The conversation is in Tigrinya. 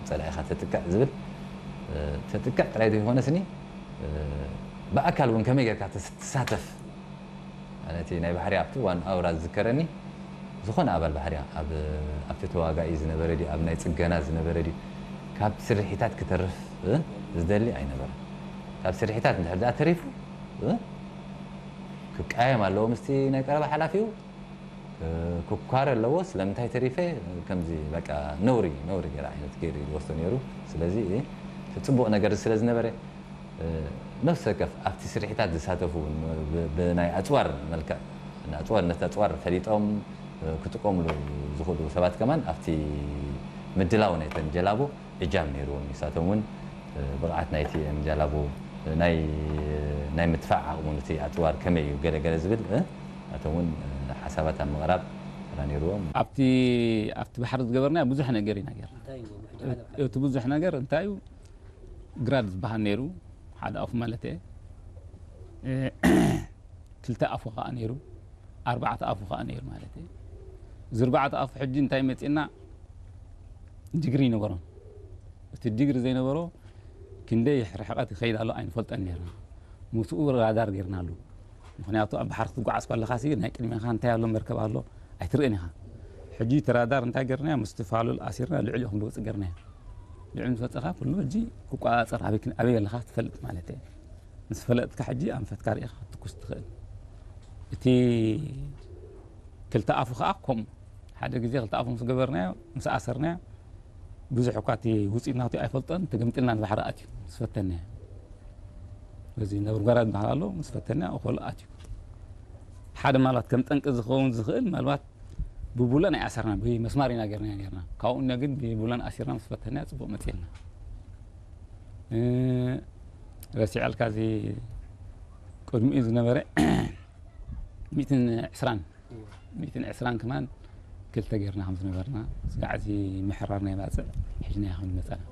ጸላኢኻ ተጥቅዕ ዝብል፣ እ፣ ተጥቅዕ ጥራይ ዘይኮነስኒ፣ እ፣ ብኣካል እውን ከመይ ጌርካ ተስ-፣ ትሳተፍ? ኣነ እቲ ናይ ባሕሪ ኣብቲ እዋን ኣውራ ዝዝከረኒ፣ ዝኾነ ኣባል ባሕሪ ኣብ፣ ኣብቲ ተዋጋኢ ዝነበረ ድዩ፣ ኣብ ናይ ጽገና ዝነበረ ድዩ፣ ካብ ስርሒታት ክተርፍ፣ እ፣ ዝደሊ ኣይነበረን። ካብ ስርሒታት እንድሕር ደኣ ተሪፉ፣ እ፣ ክቃየም ኣለዎ ምስቲ ናይ ቀረባ ሓላፊኡ፣ እ፣ ክኳረ ኣለዎ። ስለምንታይ ተሪፈ? ከምዚ በቃ ነውሪ፣ ነውሪ ገይሩ ዓይነት ገይሩ ይወስዶ ነይሩ። ስለዚ እቲ ጽቡቕ ነገር ስለ ዝነበረ፣ እ፣ ነፍሲ ወከፍ ኣብቲ ስርሒታት ዝሳተፉ እውን ብ-፣ ብናይ ኣጽዋር መልክዕ፣ ንኣጽዋር፣ ነቲ ኣጽዋር ፈሊጦም፣ እ፣ ክጥቀምሉ ዝኽእሉ ሰባት ከማን ኣብቲ ምድላው ናይተን ጀላቡ እጃም ነይርዎም። ንሳቶም እውን፣ እ፣ ብቕዓት ናይቲ ጀላቡ፣ እ፣ ናይ፣ ናይ ምድፋዕ ዓቕሙ፣ ነቲ ኣጽዋር ከመይ እዩ ገለ ገለ ዝብል፣ እ፣ ናቶም እውን፣ እ፣ ሓሳባት ኣብ ምቕራብ ተራ ነይርዎም። ኣብቲ፣ ኣብቲ ባሕሪ ዝገበርናዮ ብዙሕ ነገር ኢና ጌርና። እንታይ እዩ ብሕጂ ሓደ እቲ ብዙሕ ነገር እንታይ እዩ? ግራድ ዝበሃል ነይሩ፣ ሓደ ኣፉ ማለት እየ። እ፣ ክልተ ኣፉ ኸዓ ነይሩ፣ ኣርባዕተ ኣፉ ኸዓ ነይሩ ማለት እየ። እዚ ኣርባዕተ ኣፉ ሕጂ እንታይ መጺእና? ዲግሪ ይነበሮን። እቲ ዲግሪ ዘይነበሮ ክንደይ ርሕቐት ይኸይድ ኣሎ ኣይንፈልጠን ነይርና። ምስኡ ራዳር ጌርናሉ። ምኽንያቱ ኣብ ባሕሪ ክትጓዓዝ ከለኻሲ ናይ ቅድሜኻ እንታይ ኣሎ መርከብ ኣሎ ኣይትርእን ኢኻ። ሕጂ እቲ ራዳር እንታይ ጌርናዮ? ምስቲ ፋሉል ኣሲርና ልዕሊኡ ክንወጽእ ጌርናዮ። ልዕሊ ምስ ወጸኻ ኩሉ ሕጂ ክቆጻጸር ኣበይ ክን-፣ ኣበይ ኣለኻ ትፈልጥ ማለት እየ። ምስ ፈለጥካ ሕጂ ኣንፈትካ ርኢኻ ክትትኩስ ትኽእል። እቲ ክልተ ኣፉ ኸዓ ከምኡ። ሓደ ግዜ ክልተ ኣፉ ምስ ገበርናዮ፣ ምስ ኣሰርናዮ፣ ብዙሕ እኳ እቲ ውጽኢት ናቱ ኣይፈልጦን፣ ተገምጢልና ንባሕሪ ኣትዩ፣ ምስ ፈተንናዮ። በዚ ነብርጓራ ዝበሃል ኣሎ፣ ምስ ፈተንና እኾሉ ኣትዩ። ሓደ ምናልባት ከም ጠንቂ ዝኸውን ዝኽእል፣ ምናልባት ብቡለን ኣይኣሰርና፣ ብመስማር ኢና ጌርና ኔርና። ካብኡ እነ ግን ብቡለን ኣሲርና ምስ ፈተንና ጽቡቕ መጺእልና። እ፣ ረሲዐልካ እዚ ቅድሚኡ ዝነበረ ሚእትን ዕስራን፣ ሚእትን ዕስራን ከማን ክልተ ጌርና ከም ዝነበርና፣ ስጋዕ እዚ ምሕራር ናይ ባጽዕ ሒዝናዮ ከም ዝመጸና።